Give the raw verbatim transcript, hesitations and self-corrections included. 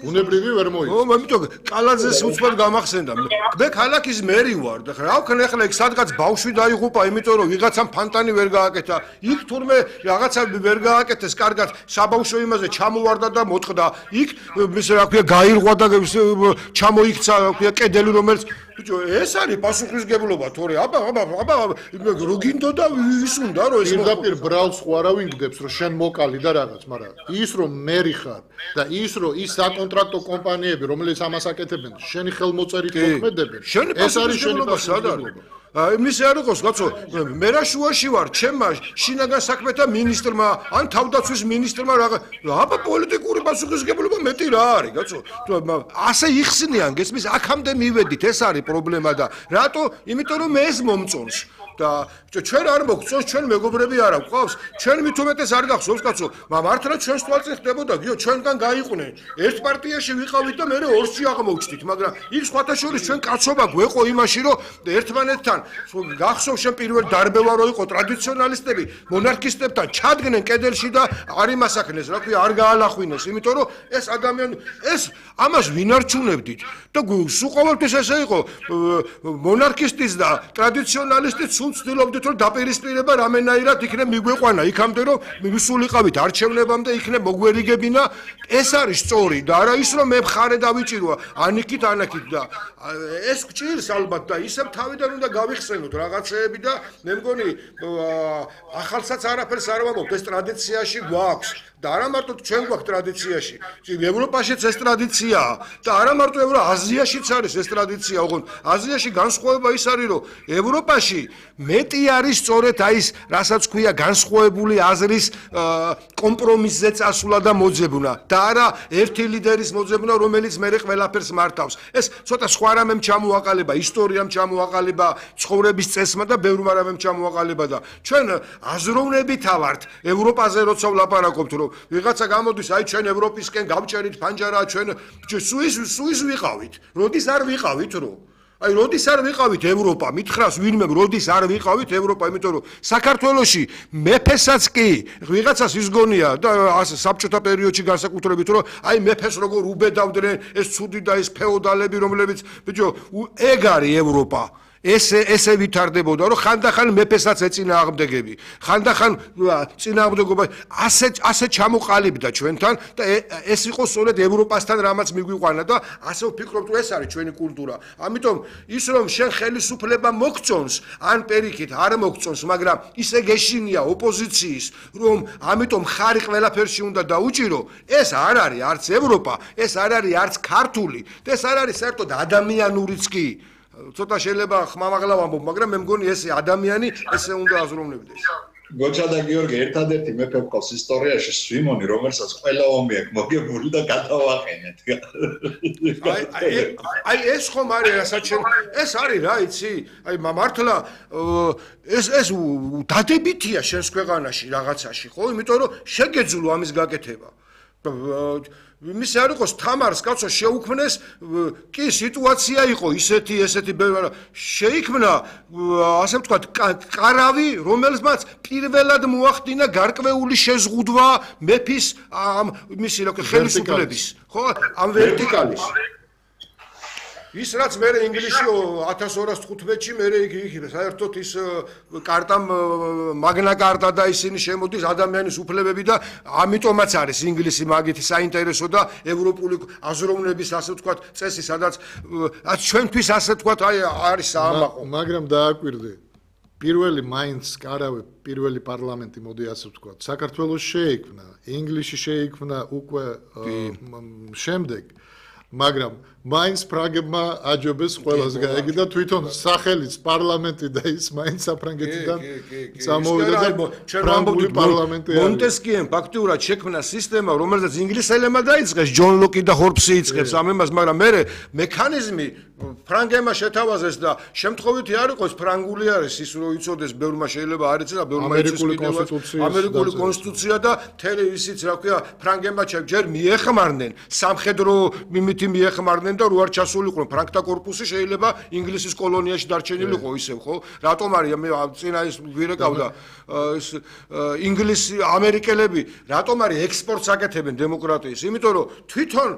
ბუნებრივი ვერ მოიწევს. ო, ამიტომ კალაძეს უცბად გამახსენდა. მე ქალაქის მერი ვარ და რა ვქნა ახლა იქ სადღაც ბავშვი დაიღუპა, იმიტომ რომ ვიღაცამ ფანტანი ვერ გააკეთა. იქ თურმე რაღაცა ვერ გააკეთეს, კარგად საბავშვო იმაზე ჩამოვარდა და მოტყდა. იქ ის რა ქვია გაირღვა და ჩამოიქცა რა ქვია კედელი რომელიც ბიჭო ეს არის პასუხისგებლობა თორე აბა აბა აბა რო გინდოდა ის უნდა რომ ეს პირდაპირ ბრალს ხო არავინ გდებს რომ შენ მოკალი და რაღაც, მაგრამ ის რომ მერი ხარ და ის რომ ის საკონტრაქტო კომპანიები რომელიც ამას აკეთებენ შენი ხელმოწერით მოქმედებენ ეს არის შენი პასუხისგებლობა. იმის არ იყოს კაცო მე რა შუაში ვარ ჩემმა შინაგან საქმეთა მინისტრმა ან თავდაცვის მინისტრმა რა აბა პოლიტიკური პასუხისგებლობა მეტი რა არის კაცო ასე იხსნიან გესმის აქამდე მივედით ეს არის პრობლემა და რატო იმიტომ რომ მე ეს მომწონს და ჩვენ არ მოგწონს ჩვენ მეგობრები არა გვყავს ჩვენ მით უმეტეს არ გახსოვს კაცო მართლა ჩვენს თვალწინ ხდებოდა გიო ჩვენგან გაიყვნენ ერთ პარტიაში ვიყავით და მე ორსში აღმოჩნდით მაგრამ იქ სხვათა შორის ჩვენ კაცობა გვეყო იმაში რომ ერთმანეთთან გახსოვს შენ პირველ დარბევა რო იყო ტრადიციონალისტები მონარქისტებთან ჩადგნენ კედელში და არ იმასაკნეს რა ქვია არ გაალახვინეს იმიტომ რომ ეს ადამიანი ეს ამას ვინ არჩუნებდით და სულ ყოველთვის ესე იყო მონარქისტის და ტრადიციონალისტის სულ ცდილობდით რომ დაპირისპირება რამენაირად იქნებ მიგვეყვანა იქამდე რომ მივსულიყავით არჩევნებამდე იქნებ მოგვერიგებინა ეს არის სწორი და არა ის რომ მე მხარე დავიჭირო ანიქით ანაქით და ეს გჭირს ალბათ და ისევ თავიდან უნდა გავიხსენოთ რაღაცეები და მე მგონი ახალსაც არაფერს არ ვამბობ ეს ტრადიციაში გვაქვს და არა მარტო ჩვენ გვაქვს ტრადიციაში ევროპაშიც ეს ტრადიციაა და არა მარტო ევროპა აზიაშიც არის ეს ტრადიცია ოღონდ აზიაში განსხვავება ის არის რომ ევროპაში მეტი არის სწორედ აი ეს რასაც ქვია განსხვავებული აზრის კომპრომისზე წასვლა და მოძებნა და არა ერთი ლიდერის მოძებნა რომელიც მე ყველაფერს მართავს ეს ცოტა სხვა რამემ ჩამოაყალიბა ისტორიამ ჩამოაყალიბა ცხოვრების წესმა და ბევრმა რამემ ჩამოაყალიბა და ჩვენ აზროვნებით ავართ ევროპაზე როცა ვლაპარაკობთ რომ ვიღაცა გამოდის აი ჩვენ ევროპისკენ გავჭერით ფანჯარა ჩვენ სუის სუის ვიყავით როდის არ ვიყავით რომ აი როდის არ ვიყავით ევროპა მითხრას ვინმე როდის არ ვიყავით ევროპა იმიტომ რომ საქართველოში მეფესაც კი ვიღაცას ის გონია და საბჭოთა პერიოდში განსაკუთრებით რომ აი მეფეს როგორ უბედავდნენ ეს ცუდი და ეს ფეოდალები რომლებიც ბიჭო ეგ არის ევროპა ესე ესე ვითარდებოდა რომ ხანდახან მეფესაც ეწინააღმდეგები ხანდახან წინააღმდეგობა ასე ასე ჩამოყალიბდა ჩვენთან და ეს იყო სწორედ ევროპასთან რამაც მიგვიყვანა და ასე ვფიქრობთ რომ ეს არის ჩვენი კულტურა ამიტომ ის რომ შენ ხელისუფლება მოგწონს ან პერიქით არ მოგწონს მაგრამ ისე გეშინია ოპოზიციის რომ ამიტომ ხარი ყველაფერში უნდა დაუჭირო ეს არ არის არც ევროპა ეს არ არის არც ქართული და ეს არ არის საერთოდ ადამიანურიც კი ცოტა შეიძლება ხმამაღლა ვამბობ, მაგრამ მე მგონი ეს ადამიანი ესე უნდა აზროვნებდეს. გოჩა და გიორგი ერთადერთი მეფე ყავს ისტორიაში სვიმონი, რომელსაც ყველა ომი აქვს მოგებული და გადავაყენეთ. აი აი ეს ხომ არის რასაც შენ ეს არის რა იცი? აი მართლა ეს ეს დადებითია შენს ქვეყანაში რაღაცაში, ხო? იმიტომ რომ შეგეძლო ამის გაკეთება. მის არ იყოს თამარს კაცო შეუქმნეს კი სიტუაცია იყო ისეთი ესეთი შეიქმნა ასე ვთქვათ კარავი რომელსაც პირველად მოახდინა გარკვეული შეზღუდვა მეფის მისი რა ხელისუფლების ხო ამ ვერტიკალის ის რაც მე ინგლისში ათას ორასი თხუთმეტში მე იქ საერთოდ ის კარტამ მაგნა კარტა და ისინი შემოდის ადამიანის უფლებები და ამიტომაც არის ინგლისი მაგითი საინტერესო და ევროპული აზროვნების ასე ვთქვათ წესი სადაც ჩვენთვის ასე ვთქვათ აი არის საამაყო მაგრამ დააკვირდე პირველი მაინც კარავე პირველი პარლამენტი მოდი ასე ვთქვათ საქართველოს შეიქმნა ინგლისში შეიქმნა უკვე შემდეგ მაგრამ მაინც ფრანგებმა აჯობეს ყველას გაეგი და თვითონ სახელიც პარლამენტი და ის მაინც საფრანგეთიდან წამოვიდა და ფრანგული პარლამენტი არის. მონტესკიემ ფაქტიურად შექმნა სისტემა, რომელზეც ინგლისელებმა დაიწყეს ჯონ ლოკი და ჰორპსი იწყებს ამ იმას, მაგრამ მე მექანიზმი ფრანგებმა შეთავაზეს და შემთხვევითი არ იყოს ფრანგული არის ის რო იცოდეს ბევრმა შეიძლება არ იცოდა ბევრმა იცის ამერიკული კონსტიტუცია და თელი ისიც რა ქვია ფრანგებმა ჯერ მიეხმარნენ სამხედრო მიმითი მიეხმარნენ და რო არ ჩასულიყვნენ ფრანკთა კორპუსი შეიძლება ინგლისის კოლონიაში დარჩენილიყო ისევ ხო რატომ არის მე წინა ის ვირეკავდა ის ინგლისი ამერიკელები რატომ არის ექსპორტს აკეთებენ დემოკრატიის იმიტომ რომ თვითონ